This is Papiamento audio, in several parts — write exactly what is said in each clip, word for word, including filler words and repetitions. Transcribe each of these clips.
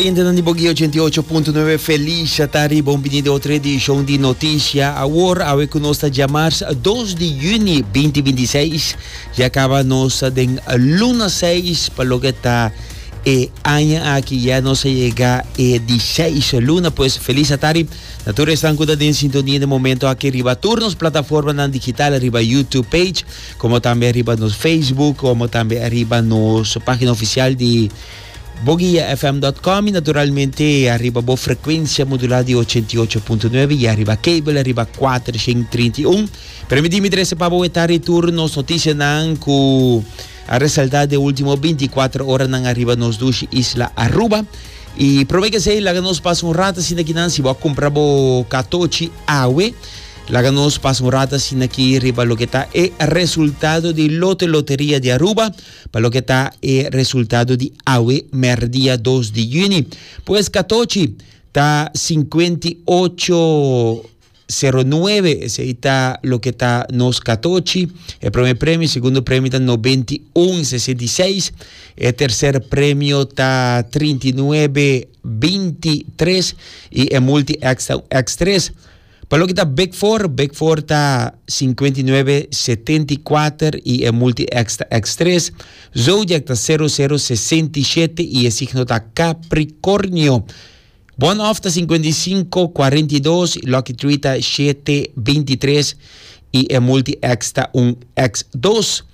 Oyentenan di Bo Guia ochenta i ocho punto nuebe, felis atardi, bon bini den otro edicion di Noticia Awor. Awe cu nos ta diamars dos di juni dos mil bintiseis, ya caba nos den luna seis pa loke ta e aña aki, ya nos a yega e di seis luna. Pues felis atardi na tur esnan cu ta den sintonia di momento aki riba tur nos plataformanan digital, riba YouTube page, como tambe riba nos Facebook, como tambe riba nos pagina oficial di boguiafm punto com y naturalmente riba bo frecuencia modula di ochenta i ocho punto nuebe y riba cable riba kuatershen trinta i un. Permiti mi trece pa bo tur nos noticianan cu a resalta den ultimo binticuater oranan riba nos dushi isla Aruba. Y prome cu esey, laga nos pasa un rato asina aki nan, si bo a cumpra bo catochi awe, laga nos pasa un rato asina aki riba loke ta e resultado di Lotto Loteria di Aruba, pa loke ta e resultado di awe merdia dos di juni. Pues catochi ta cincuenta i ocho sero nuebe, esey ta loke ta nos catochi, e prome premio. Segundo premio ta nobenta i un sesenta i seis, e tercer premio ta trinta i nuebe bintitres y e multi X, X tres. Pa loke ta Big Four, Big Four ta cincuenta i nuebe setenta i cuater y e multi X ta X tres. Zodiac ta sero sero sesenta i shete y e signo ta Capricornio. One off ta cincuenta i cinco cuarenta i dos, Lucky Three ta shete bintitres y e multi X ta un X dos.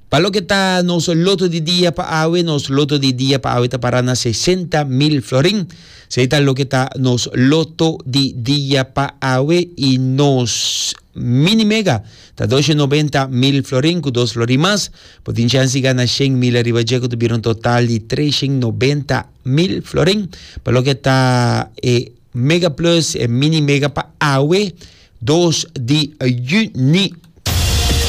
Pa loke ta nos loto di dia pa awe, nos loto di dia pa awe ta para na sesenta mil florin. Esey ta loke ta nos loto di dia pa awe y nos mini mega ta doshen nobenta mil florin cu dos florin mas. Bo tin chance di gana shen mil riba dje, cu ta un total di treshen nobenta mil florin. Pa loke ta e Mega Plus e mini mega pa awe dos di juni.